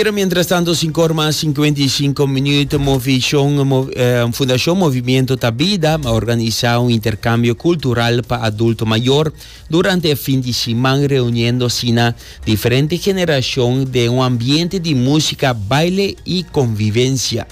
Pero mientras tanto, 5 or mas 55 minuut, Movishon, Fundacion Movimiento Ta Bida a organisa un intercambio cultural pa adulto mayor durante e fin di siman, reuniendo asina diferente generacion den un ambiente di musica, baile y convivencia.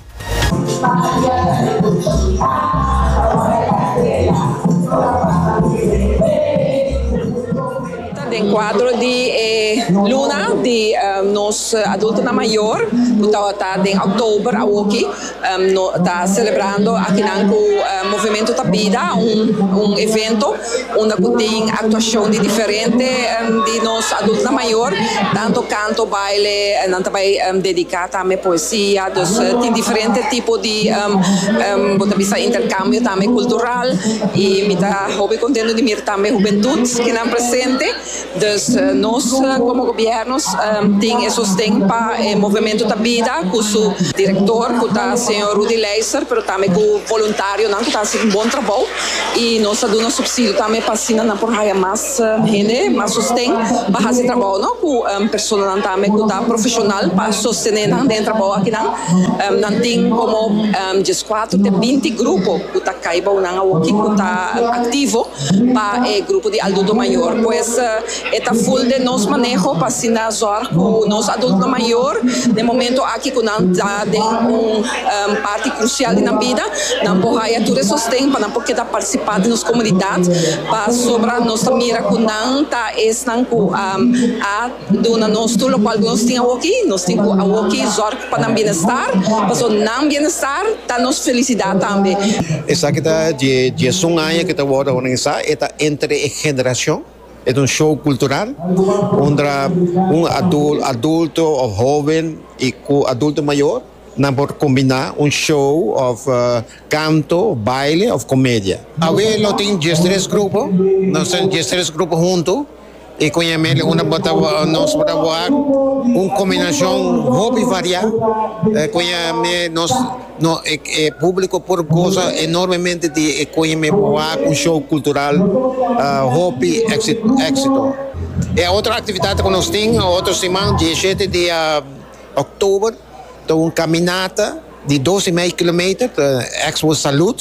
Den cuadro di e luna di nos adultonan mayor cu tabata den october awoki no ta celebrando akinan cu Movimento Ta Bida un evento unda cu tin actuacion di diferente di nos adultonan mayor tanto canto, baile, nan ta bay dedica tambe poesia, dus tin diferente tipo di bo ta bisa intercambio tambe cultural y mi ta hopi contento di mira tambe hubentud kinan presente, dus nos como gobierno tin e sosten pa e Movimento Ta Bida cu su director cu ta señor Rudy Leyser pero tambe cu voluntarionan cu ta haci un bon trabou y nos ta duna subsidio tambe pa asina nan por haya mas. Hende mas sosten pa hasi trabou no ku personanan tambe ku ta profeshonal pa sostene nan den e trabou akinan. Nan tin komo dieskuater te binti grupo ku ta kai bou nan awoki ku ta aktivo pa e grupo di adulto mayor. Pues e ta ful den nos maneho pa asina zòrg ku nos adultonan mayor den momento aki ku nan ta den un parti krusial di nan bida nan por haya tur e sosten pa nan por keda partisipá den nos komunidat. Pasobra nos ta mira ku nan ta esnan ku a duna nos tur lokual ku nos tin awoki. Nos tin ku awoki zòrg pa nan bienestar, pasobra nan bienestar ta nos felisidat tambe. Esaki ta dje diesun aña ku ta wòrdu organisá. E ta entre e generashon. E ta un show kultural unda un adulto òf hóben i ku adulto mayor. Nan por kombiná un show òf kanto, baile òf komedia. Awe lo tin diestres grupo, nos tin diestres grupo huntu i ku ñamel unda bo ta nos por ta wak un kombinashon hopi variá ku ñame nos no e públiko por gosa enormemente di e ku ñame por wak un show kultural hopi éksito. E otro aktividat ku nos tin otro siman dieshete di Oktober ta un caminata di dos y mei kilometer, ta Expo Salud,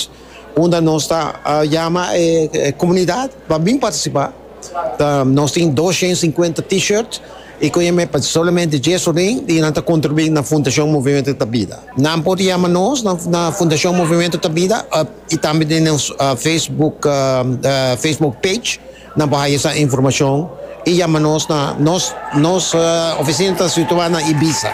unda nos ta yama e comunidad pa bin participa. Ta nos tin 250 T-shirt y cu yama pa solamente dies orin y nan ta contribui na Fundacion Movimento Ta Bida. Nan por yama nos na Fundacion Movimento Ta Bida y tambe den nos Facebook Facebook page. Nan por haya esa informacion y yama nos na nos nos oficina ta situa na Ibiza.